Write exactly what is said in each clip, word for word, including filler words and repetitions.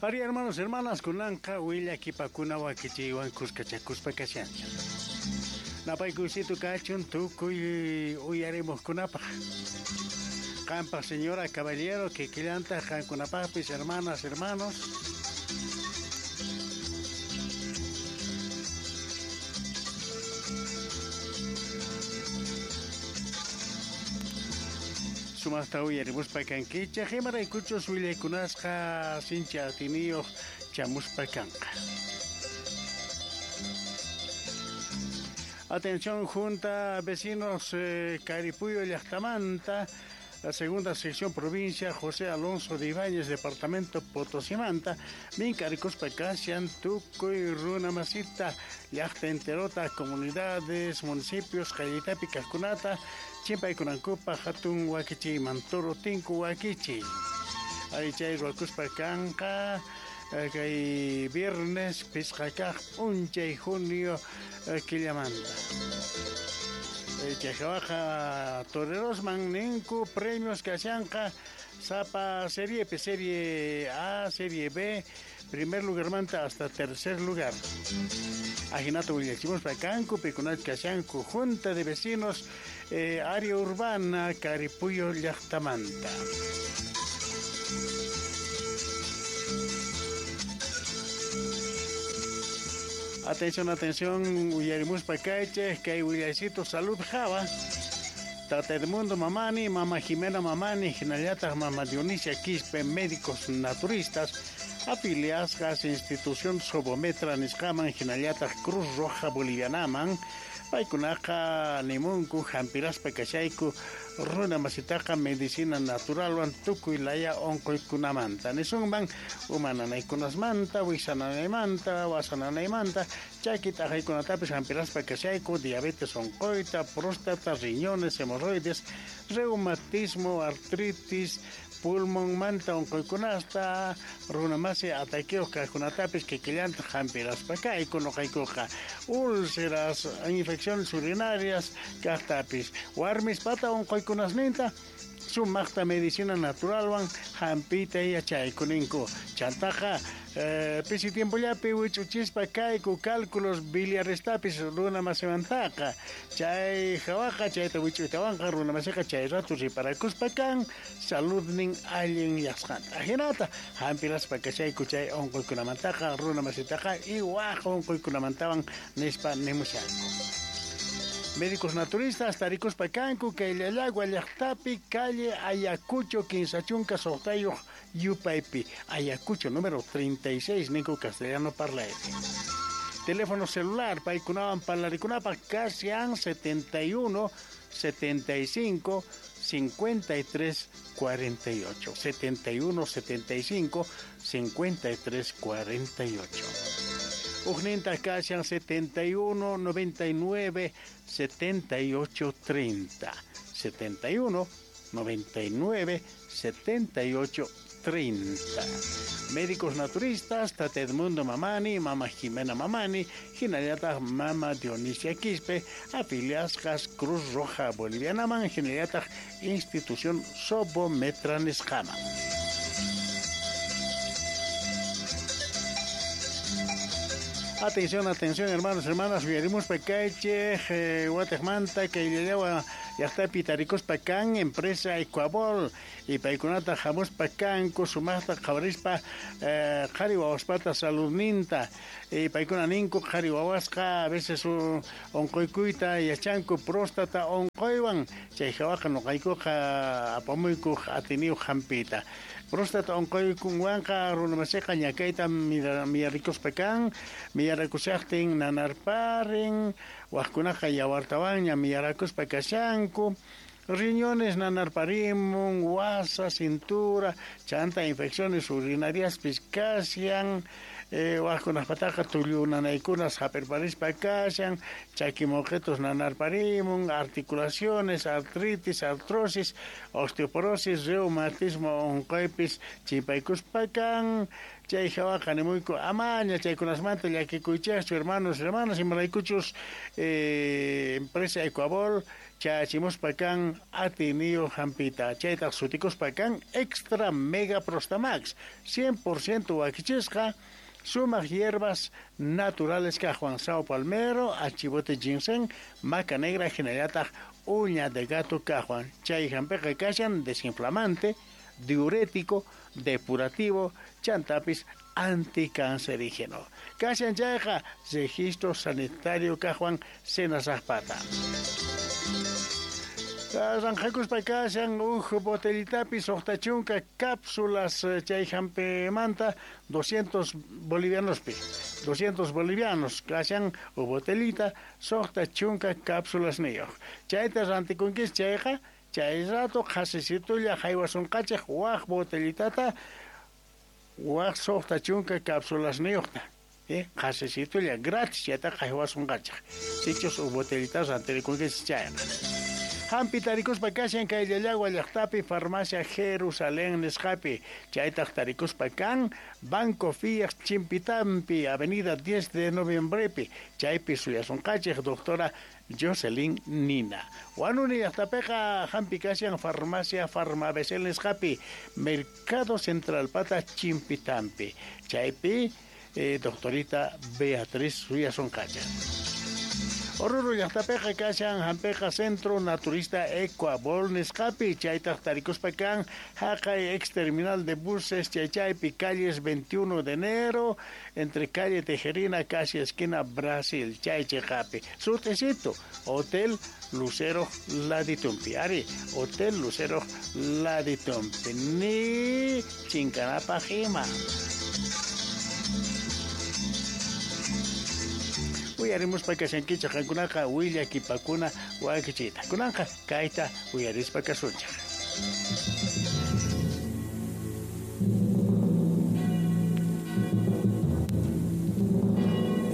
Ari hermanos, hermanas, kunanqa willakipakuna wakichiywan kuskachakuspa kashanchik. Napaykuysito kachun tukuy uyarimuqkunapaq. Qanpaq señora, caballero, kikillantaq qankunapaqpis, hermanas, hermanos. Sumaqta uyarimuspa kankichik, imaraykuchus willaykunasqa sinchi atiniyuq chamuspa kanqa. Atención, Junta Vecinos eh, Caripuyo llaqtamanta, la segunda sección provincia José Alonso de Ibáñez, departamento Potosimanta, minkarikuspa kashan tukuy runa masita, llaqta enterota, comunidades, municipios, qayllitapi kaqkunata, chimpaykunankupaq hatun wakichiyman, toro tinku wakichiy. Ari chay ruwakuspa kanqa kay viernes pisqa kaq p'unchay junio killamanta. Chayhawaqa torerosman ninku premios kashanqa sapa serie P, serie A, serie B, primer lugarmanta hasta tercer lugar. Ajinato willachimuspa kanku, pikunach kashanku, Junta de Vecinos, eh, área urbana, Caripuyo llaqtamanta. Atención, atención, uyarimuspa kaychej, kay willaycito salud java. Tata Edmundo Mamani, Mama Jimena Mamani, hinallataq Mama Dionisia Quispe, médicos naturistas, afiliasqas institución Sobometra nisqaman, hinallataq Cruz Roja Bolivianaman, paykunaqa nimunku hampiraspa kashayku runa masitaqa medicina naturalwan tukuy laya unquykunamanta. Nisunman uma nanaykunasmanta, wiksa nanaymanta, wasa nanaymanta, chaki t'aqaykunatapis hampiraspa kashayku, diabetes unquyta, próstata, riñones, hemorroides, reumatismo, artritis, pulmonmanta unquykunasta, runa masi ataqueos kaqkunatapis kikillanta hampiraspa kayku nuqaykuqa, úlceras, infecciones urinarias kaqtapis, warmispata unquykunasninta sumaqta medicina naturalwan hampiyta yachayku ninku. Chantaqa eh, pisi tiempollapi wich'uchispa kayku cálculos biliarestapis runa masimantaqa. Chay hawaqa chayta wich'uytawanqa runa masiqa chay rato riparakuspa kan saludnin allin yasqanta. Ajinata hampiraspa kashayku chay unquykunamantaqa runa masitaqa y waq unquykunamantawan nispa nimushanku. Médicos naturistas tarikuspa kanku kay Llallagua llaqtapi calle Ayacucho kinsa chunka suqtayuq yupaypi, Ayacucho número treinta y seis ninku castellano parlaypi. Teléfono celular paykunawan parlarikunapaq kashan setenta y uno, setenta y cinco, cincuenta y tres, cuarenta y ocho, setenta y uno, setenta y cinco, cincuenta y tres, cuarenta y ocho. Ujninta kashan setenta y uno, noventa y nueve, setenta y ocho, treinta, setenta y uno, noventa y nueve, setenta y ocho, treinta. Médicos naturistas, Tata Edmundo Mamani, Mama Jimena Mamani, hinallataq Mama Dionisia Quispe, afiliasqas Cruz Roja Bolivianaman, hinallataq Institución Sobometra nisqaman. Atención, atención, hermanos, hermanas, uyarimuspa kaychej, eh, Guatemala, kayllallawa llaqtapi tarikuspa kan, empresa Ecuabol, y paykunata hamuspa kanku, sumaqta qhawarispa, eh, qhari wawaspata saludninta, y paykuna ninku qhari wawasqa, a veces unquykuyta yachanku próstata unquywan, chay hawaqa nuqaykuqa apamuyku atiniyuq hampiyta. Próstata unquykunwanqa runamasiqa ñakayta miyarikuspa kan, miyarakushaqtin nanarparin, waqkunaqa yawartawanña miyarakuspa kashanku, riñones nanarparimun, wasa, cintura, chanta infecciones urinariaspis kashan, eh, waqkunaqpataqa tullu nanaykunas hap'irparispa kashan, chakimoqetos nanarparimun, articulaciones, artritis, artrosis, osteoporosis, reumatismo unquypis chimpaykuspa kan. Chay hawaqa nimuyku amaña chaykunasmanta llakikuychikchu, hermanos, hermanas, imaraykuchus eh, empresa Ecuabol Chachimuspa kan atiniyo hampita. Chaytaq sutikuspa kan Extra Mega Prostamax. cien por ciento wakichisqa sumaq hierbas naturales kaqwan sao palmero, achibote ginseng, maca negra hinallataq uña de gato kaqwan. Chay hampiqa kashan desinflamante, diurético, depurativo, chantapis anticancerígeno. Kashan chayqa registro sanitario kaqwan senasaqpata. Ranjakuspa kashan uj botellitapi suqta chunka cápsulas chay hampimanta doscientos bolivianospi. doscientos bolivianos kashan uj botellita suqta chunka cápsulas niyuq. Chayta rantikunkis chayqa chay rato qhasisitulla haywasunqachik waq botellitata waq suqta chunka cápsulas niyuqta. Eh, qhasisitulla gratis chayta haywasunqachik. Sichus uj botellita rantikunkis chayqa. Hampi tarikuspa kashan kay Llallagua llaqtapi farmacia Jerusalén nisqapi. Chaytaq tarikuspa kan Banco Fiat Chimpitampi, Avenida diez de Noviembrepi. Chaypi suyasunqachik doctora Jocelyn Nina. Huanuni llaqtapiqa hampi kashan farmacia Farmabesel nisqapi, Mercado Central pata Chimpitampi. Chaypi eh, doctorita Beatriz suyasunqachik. Oruro llaqtapiqa kashan hampiqa Centro Naturista Ecuabol nisqapi, chaytaq tarikuspa kan haqay ex terminal de buses chaychaypi calles veintiuno de enero entre calle Tejerina casi esquina Brasil chay chiqapi. Sutecito Hotel Lucero Laditumpi. Ari Hotel Lucero Laditumpi ni chinkanapaq ima. Uyarimuspa kashankichik qankunaqa willakipakuna wakichita. Kunanqa kayta uyarispa kasunchik.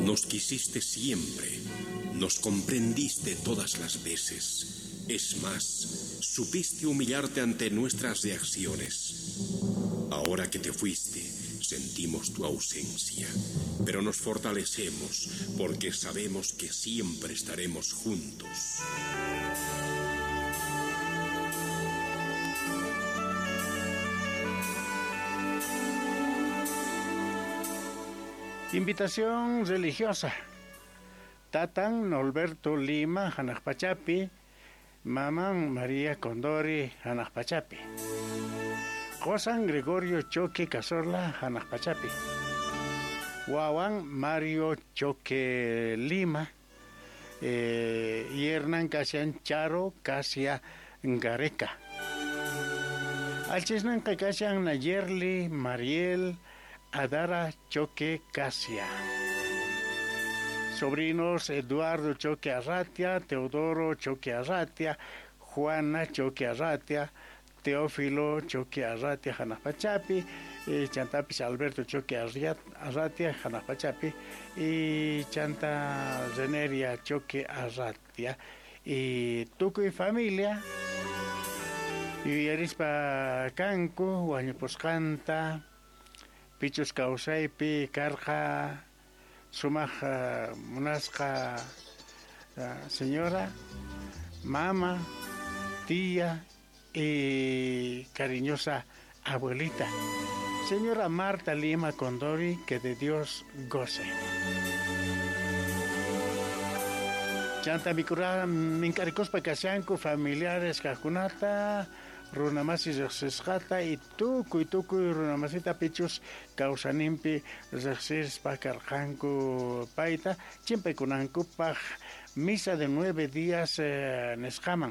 Nos quisiste siempre, nos comprendiste todas las veces. Es más, supiste humillarte ante nuestras reacciones. Ahora que te fuiste, sentimos tu ausencia, pero nos fortalecemos porque sabemos que siempre estaremos juntos. Invitación religiosa. Tatan Norberto Lima, Hanaqpachapi, Maman María Condori, Hanaqpachapi. Qosan Gregorio Choque Cazorla, Hanaqpachapi. Wawan Mario Choque Lima, eh, y Hernán Casian Charo Casia Gareca. Alchisnan Casian Nayerli Mariel Adara Choque Casia. Sobrinos Eduardo Choque Arratia, Teodoro Choque Arratia, Juana Choque Arratia, Teófilo Choque Arratia Hanaqpachapi, eh, chantapis Alberto Choque Arratia Hanaqpachapi y chanta Reneria Choque Arratia y tukuy familia yuyarispa kanku wañupusqanta pichus kawsaypi karqa sumaq munasqa señora, mama, tía y cariñosa abuelita, señora Marta Lima Condori, que de Dios goce. Chanta mikura minkarikuspa kashanku familiares kaqkunata, runamasi riqsisqata y tukuy tukuy runamasita pichus kawsaninpi riqsispa karqanku payta chimpaykunankupaq misa de nueve días eh, nisqaman.